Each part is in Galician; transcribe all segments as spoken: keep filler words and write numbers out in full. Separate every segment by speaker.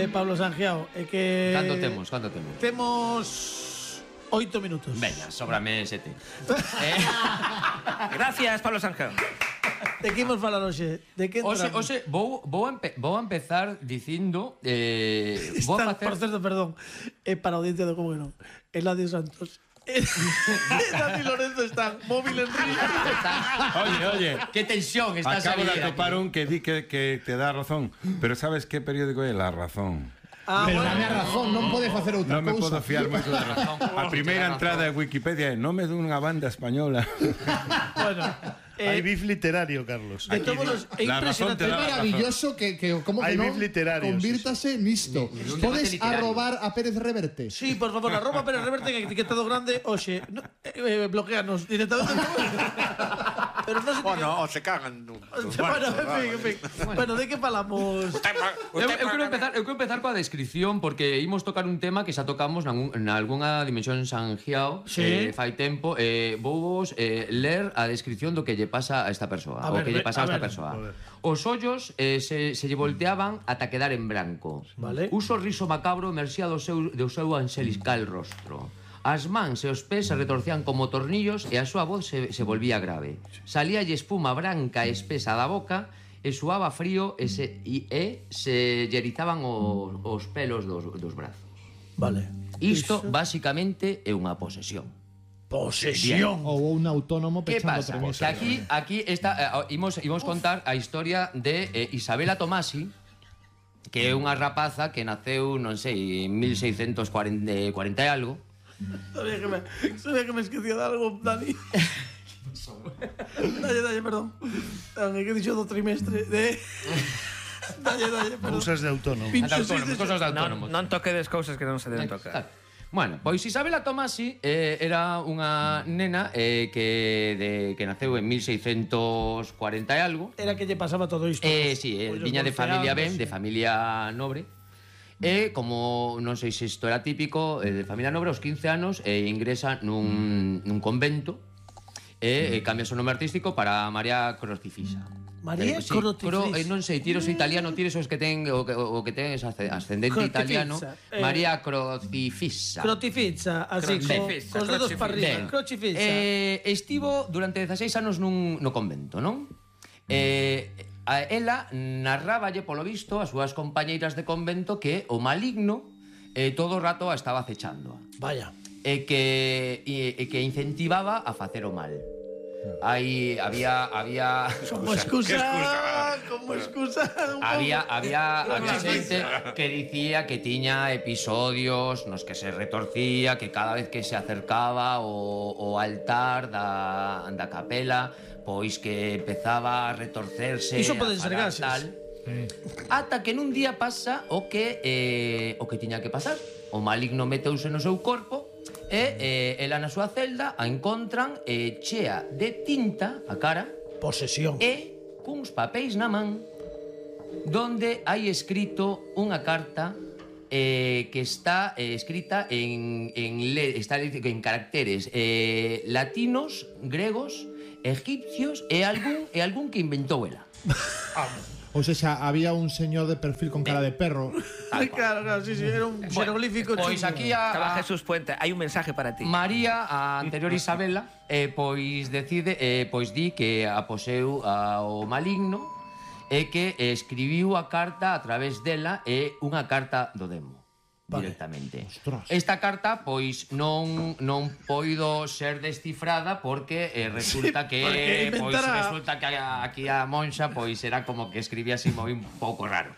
Speaker 1: eh, Pablo Sangiao, é que...
Speaker 2: Cando temos, cando temos?
Speaker 1: Temos oito minutos.
Speaker 2: Veña, sóbrame sete. eh...
Speaker 3: Gracias, Pablo Sangiao.
Speaker 1: De que imos falar hoxe? De que
Speaker 2: Oxe,
Speaker 1: entramos?
Speaker 2: oxe, vou, vou, empe vou a empezar dicindo eh, vou
Speaker 1: Está,
Speaker 2: a facer...
Speaker 1: por certo, perdón, é para a audiencia de Como que non. Eladio Santos. Dani Lorenzo está móvil en río.
Speaker 4: Oye, oye,
Speaker 2: Que tensión está
Speaker 4: acabo de
Speaker 2: saliendo
Speaker 4: atopar
Speaker 2: aquí.
Speaker 4: un que di que, que te dá razón. Pero sabes que periódico é? La Razón.
Speaker 1: Ah,
Speaker 5: Pero
Speaker 1: bueno.
Speaker 5: dame a razón, non pode facer outra
Speaker 4: Non me
Speaker 5: cousa.
Speaker 4: podo fiar moito da razón. A primeira entrada de Wikipedia é nome dunha banda española.
Speaker 1: Bueno,
Speaker 6: Hai
Speaker 1: eh,
Speaker 6: bif literario, Carlos.
Speaker 1: de todos los... É
Speaker 4: La razón
Speaker 1: impresionante.
Speaker 4: te
Speaker 5: É
Speaker 4: da-
Speaker 5: maravilloso que, que como que
Speaker 6: Hai
Speaker 5: non
Speaker 6: bif literario,
Speaker 5: convírtase nisto.
Speaker 2: un
Speaker 5: Podes
Speaker 2: debate literario.
Speaker 5: arrobar a Pérez Reverte.
Speaker 1: Sí, por favor, arroba Pérez Reverte en etiquetado grande. Oxe, no, eh, eh, bloqueanos directamente. Pero non se...
Speaker 7: Bueno, o se cagan. nun-
Speaker 1: Bueno, en fin, en fin. Bueno, de que falamos?
Speaker 2: Eu, eu quero empezar, eu quero empezar coa descripción porque imos tocar un tema que xa tocamos na algunha dimensión Sangiao
Speaker 1: Sí.
Speaker 2: eh, fai tempo. Eh, vou vos eh, ler a descripción do que lle pasa a esta persoa.
Speaker 1: A
Speaker 2: O
Speaker 1: ver,
Speaker 2: que lle
Speaker 1: ve-
Speaker 2: pasa a
Speaker 1: a
Speaker 2: esta
Speaker 1: ver.
Speaker 2: persoa.
Speaker 6: A ver.
Speaker 2: Os ollos eh, se, se lle volteaban ata quedar en branco.
Speaker 1: Vale.
Speaker 2: Un sorriso macabro emerxía do seu, do seu anxeliscal rostro. As mans e os pés se retorcían como tornillos e a súa voz se, se volvía grave. Salíalle espuma branca e espesa da boca e suaba frío e se, e, e se lle erizaban os, os pelos dos, dos brazos.
Speaker 1: Vale.
Speaker 2: Isto,
Speaker 1: Iso.
Speaker 2: basicamente, é unha posesión.
Speaker 1: Posesión.
Speaker 5: Ou un autónomo
Speaker 2: Que
Speaker 5: pechando
Speaker 2: pasa?
Speaker 5: premisa.
Speaker 2: Que aquí, aquí está, eh, imos, imos contar a historia de eh, Isabela Tomasi, que é unha rapaza que naceu, non sei, en mil seiscentos cuarenta e algo.
Speaker 1: Sabía que me, sabía que me esquecía de algo, Dani. Dalle, dalle, perdón. Dani, que he dicho do trimestre de... Dalle, dalle, perdón.
Speaker 6: Cousas de autónomo.
Speaker 1: Pincho
Speaker 2: De autónomos,
Speaker 1: seis de-
Speaker 2: cosas de
Speaker 3: Non,
Speaker 2: autónomos.
Speaker 3: non toquedes cousas que non se deben
Speaker 2: Claro.
Speaker 3: tocar.
Speaker 2: Bueno, pois Isabela Tomasi eh, era unha nena eh, que, de, que naceu en mil seiscentos cuarenta e algo.
Speaker 1: Era que lle pasaba todo isto.
Speaker 2: Eh, sí, eh,
Speaker 1: Ollos
Speaker 2: viña de familia ben,
Speaker 1: golpeados,
Speaker 2: de familia nobre. E como non sei se isto era típico, eh, de familia nobre, aos quince anos e ingresa nun, nun convento e eh, cambia o nome artístico para María Crocifisa.
Speaker 1: María
Speaker 2: Eh, sí,
Speaker 1: Crocifisa.
Speaker 2: cro, eh, non sei, tiro o italiano, tiro esos que ten o que, o que ten ese ascendente
Speaker 1: Crocifisa,
Speaker 2: italiano.
Speaker 1: eh,
Speaker 2: María Crocifisa.
Speaker 1: Crocifizza, así, co,
Speaker 3: Crocifizza,
Speaker 1: cos dedos
Speaker 3: crocifizza.
Speaker 1: para arriba.
Speaker 2: Ben,
Speaker 1: Crocifizza.
Speaker 2: eh, estivo durante dezaseis anos nun, no convento, non? Eh, a ela narráballe polo visto as súas compañeiras de convento que o maligno eh, todo o rato a estaba acechándoa
Speaker 1: Vaya.
Speaker 2: e que, e, e que incentivaba a facer o mal. Aí había había
Speaker 1: Como excusa, como excusa. un
Speaker 2: Había,
Speaker 1: pouco.
Speaker 2: había, había xente que dicía que tiña episodios nos que se retorcía, que cada vez que se acercaba o, o altar da, da capela, pois que empezaba a retorcerse.
Speaker 1: Iso poden
Speaker 2: a
Speaker 1: ser
Speaker 2: falar
Speaker 1: gases.
Speaker 2: tal. Ata que nun día pasa o que eh, o que tiña que pasar. O maligno meteuse no seu corpo e eh, ela na súa celda a encontran eh, chea de tinta a cara
Speaker 1: Posesión.
Speaker 2: e cuns papéis na man donde hai escrito unha carta eh, que está eh, escrita en, en, le, está en caracteres eh, latinos, gregos, egipcios e algún, e algún que inventou ela.
Speaker 5: Ou seja, había un señor de perfil con cara de perro.
Speaker 1: Claro, claro, sí, sí, era un xeroglífico
Speaker 2: Pois
Speaker 1: chungo.
Speaker 2: aquí a,
Speaker 3: Estaba
Speaker 2: a
Speaker 3: Jesús Puente, hai un mensaje para ti.
Speaker 2: María, a anterior Isabela, eh, pois decide, eh, pois di que aposeu ao maligno e que escribiu a carta a través dela e unha carta do demo.
Speaker 1: Vale.
Speaker 2: Directamente.
Speaker 5: Ostras.
Speaker 2: Esta carta pois non non poido ser descifrada porque eh, resulta
Speaker 1: Sí,
Speaker 2: que
Speaker 1: porque
Speaker 2: pois
Speaker 1: inventara-
Speaker 2: resulta que a- aquí a Monxa pois era como que escribía así moi un pouco raro.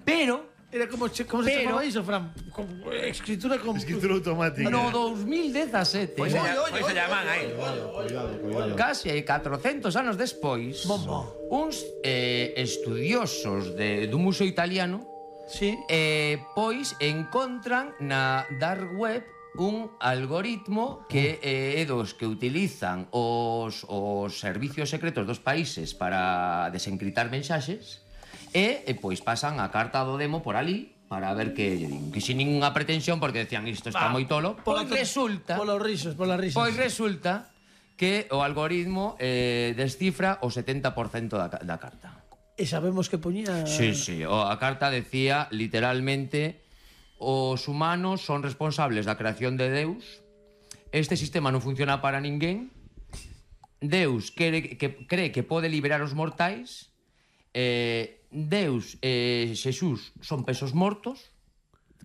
Speaker 2: Pero
Speaker 1: Era como, che- como se
Speaker 2: Pero-
Speaker 1: chamaba iso, Fran? Como, eh, escritura con...
Speaker 6: Escritura automática.
Speaker 2: no dos mil dezasete,
Speaker 3: Pois se,
Speaker 1: Oye,
Speaker 3: lla-
Speaker 1: oye,
Speaker 3: pois se
Speaker 1: oye,
Speaker 3: llaman
Speaker 1: oye,
Speaker 3: aí.
Speaker 5: Cuidado, cuidado.
Speaker 2: case catrocentos anos despois,
Speaker 1: Bombo.
Speaker 2: uns eh, estudiosos de, dun museo italiano
Speaker 1: Sí.
Speaker 2: eh, pois encontran na dark web un algoritmo que eh, é dos que utilizan os, os servicios secretos dos países para desencriptar mensaxes e, e pois pasan a carta do demo por ali para ver que lle din. Que sin ninguna pretensión porque decían isto está moi tolo. Pois resulta
Speaker 1: Polos risos, polas risas.
Speaker 2: Pois resulta que o algoritmo eh, descifra o setenta por cento da, ca- da carta.
Speaker 1: E sabemos que poñía...
Speaker 2: Sí, sí, o a carta decía literalmente: os humanos son responsables da creación de Deus, este sistema non funciona para ninguén, Deus quere, que, cree que pode liberar os mortais, eh, Deus e eh, Xesús son pesos mortos,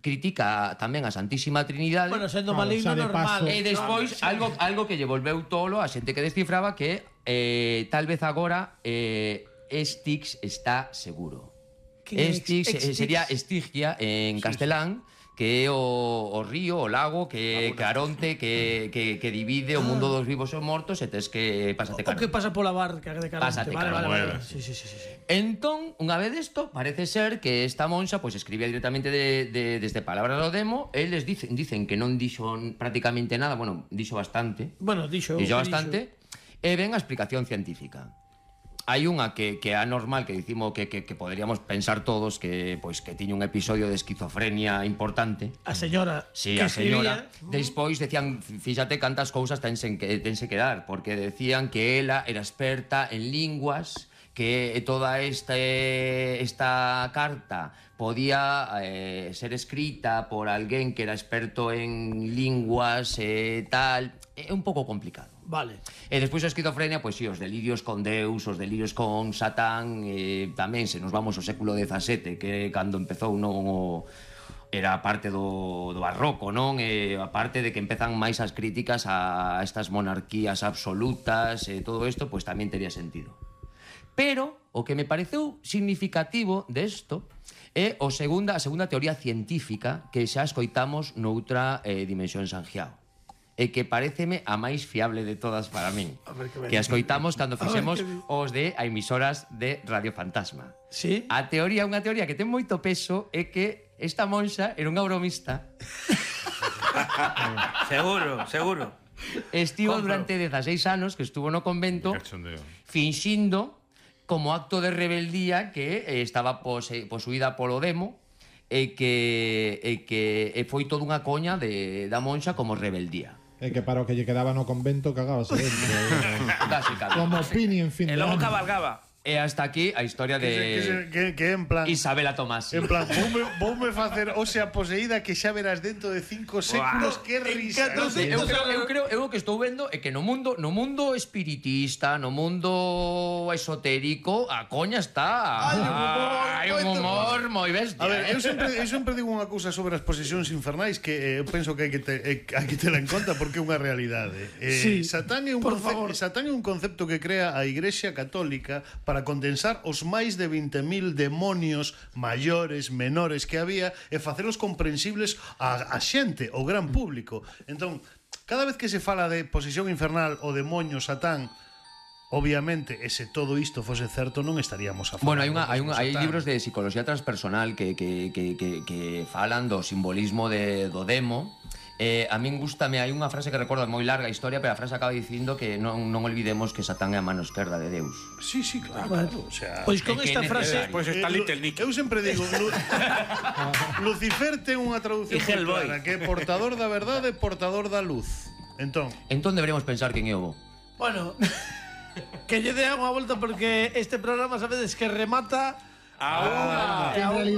Speaker 2: critica tamén a Santísima Trinidade.
Speaker 1: Bueno, sendo
Speaker 5: Claro,
Speaker 1: maligno
Speaker 5: xa de
Speaker 1: normal.
Speaker 5: paso.
Speaker 2: E despois algo, algo que lle volveu tolo a xente que descifraba, que eh, tal vez agora eh, Estix está seguro.
Speaker 1: Que
Speaker 2: Estix
Speaker 1: ex-
Speaker 2: eh,
Speaker 1: Estix.
Speaker 2: sería Estigia en castelán, que é o, o río, o lago, que Caronte, que, que, que divide o mundo dos vivos e os mortos, e tes que pásate
Speaker 1: O que
Speaker 2: Caronte.
Speaker 1: pasa pola barca de Caronte.
Speaker 2: Pásate
Speaker 1: Vale, vale,
Speaker 2: Caronte.
Speaker 1: vale. Sí, sí, sí, sí, sí.
Speaker 2: Entón, unha vez desto, parece ser que esta monxa pois escribía directamente de, de, desde Palabras do Demo. Eles dicen, dicen que non dixo prácticamente nada, bueno, dixo bastante,
Speaker 1: Bueno, dixo...
Speaker 2: dixo
Speaker 1: que
Speaker 2: bastante, e ven a explicación científica. Hai unha que, que é anormal, que dicimos que, que, que poderíamos pensar todos que pois que tiña un episodio de esquizofrenia importante.
Speaker 1: A señora
Speaker 2: Sí,
Speaker 1: que
Speaker 2: a señora.
Speaker 1: escribía...
Speaker 2: Despois decían, fíxate cantas cousas tense que, tense que dar, porque decían que ela era experta en linguas, que toda este, esta carta podía eh, ser escrita por alguén que era experto en linguas e eh, tal. É un pouco complicado.
Speaker 1: Vale.
Speaker 2: E despois a esquizofrenia, pois si, os delirios con Deus, os delirios con Satán, eh, tamén se nos vamos ao século dezasete, que cando empezou non o... era parte do, do barroco, non? E a parte de que empezan máis as críticas a estas monarquías absolutas e todo isto, pois tamén tería sentido. Pero o que me pareceu significativo desto é o segunda, a segunda teoría científica que xa escoitamos noutra eh, dimensión Sanjiao, e que pareceme a máis fiable de todas para min, que a escoitamos cando fixemos os de a emisoras de Radio Fantasma.
Speaker 1: Sí?
Speaker 2: A teoría, unha teoría que ten moito peso, é que esta monxa era unha bromista.
Speaker 3: Seguro, seguro.
Speaker 2: Estivo
Speaker 3: Compro.
Speaker 2: durante dezaseis anos que estuvo no convento
Speaker 4: Cachondeo.
Speaker 2: finxindo como acto de rebeldía que eh, estaba pose, posuída polo demo, e que, e que e foi toda unha coña de, da monxa como rebeldía.
Speaker 5: É que para o que lle quedaba no convento cagábase dentro.
Speaker 2: Básicamente.
Speaker 5: Como Pini en fin
Speaker 3: E
Speaker 5: de
Speaker 3: logo
Speaker 5: ano.
Speaker 3: cabalgaba.
Speaker 2: E hasta aquí a historia
Speaker 6: Que, se- que, se-
Speaker 2: de
Speaker 6: que, que en plan...
Speaker 2: Isabela Tomasi.
Speaker 6: En plan, voume, voume facer Osea poseída que xa verás dentro de cinco séculos. Que risa.
Speaker 1: catro
Speaker 6: non?
Speaker 2: Eu creo, eu creo, eu o que estou vendo é que no mundo, no mundo espiritista, no mundo esotérico, a coña está.
Speaker 1: Hai un humor,
Speaker 2: Hai un
Speaker 1: moito
Speaker 2: humor moi bestia.
Speaker 6: A ver,
Speaker 2: eh.
Speaker 6: eu sempre, eu sempre digo unha cousa sobre as posesións infernais que eh, eu penso que hai que, te, eh, hai que tela en conta porque é unha realidade. Eh,
Speaker 1: Sí,
Speaker 6: Satán, é un
Speaker 1: por
Speaker 6: conce-
Speaker 1: favor.
Speaker 6: Satán é un concepto que crea a Igrexa Católica para condensar os máis de vinte mil demonios maiores, menores que había e facelos comprensibles a, a xente, ao gran público. Entón, cada vez que se fala de posesión infernal o demonio Satán, obviamente, e se todo isto fose certo, non estaríamos a falar.
Speaker 2: Bueno, hai unha, hai, unha, hai
Speaker 6: Satán.
Speaker 2: libros de psicología transpersonal que, que, que, que, que falan do simbolismo de, do demo. Eh, a min gustame, hai unha frase que recordo moi larga a historia, pero a frase acaba dicindo que non, non olvidemos que Satán é a mano esquerda de Deus.
Speaker 6: Sí, sí, claro,
Speaker 1: Bueno,
Speaker 6: claro. O sea,
Speaker 1: Pois con
Speaker 2: é que
Speaker 1: esta
Speaker 2: é
Speaker 1: frase...
Speaker 2: necesario.
Speaker 7: Pois está
Speaker 6: Eh,
Speaker 7: Little
Speaker 6: Lu-
Speaker 7: Nick.
Speaker 6: Eu sempre digo Lu- Lucifer ten unha traducción
Speaker 3: E
Speaker 6: moi
Speaker 3: Hellboy.
Speaker 6: clara, que é portador da verdade, portador da luz. Entón,
Speaker 2: Entón deberíamos pensar quen é o bo.
Speaker 1: Bueno, que lle dea unha volta porque este programa sabedes que remata
Speaker 7: A unha.
Speaker 5: Que en realidade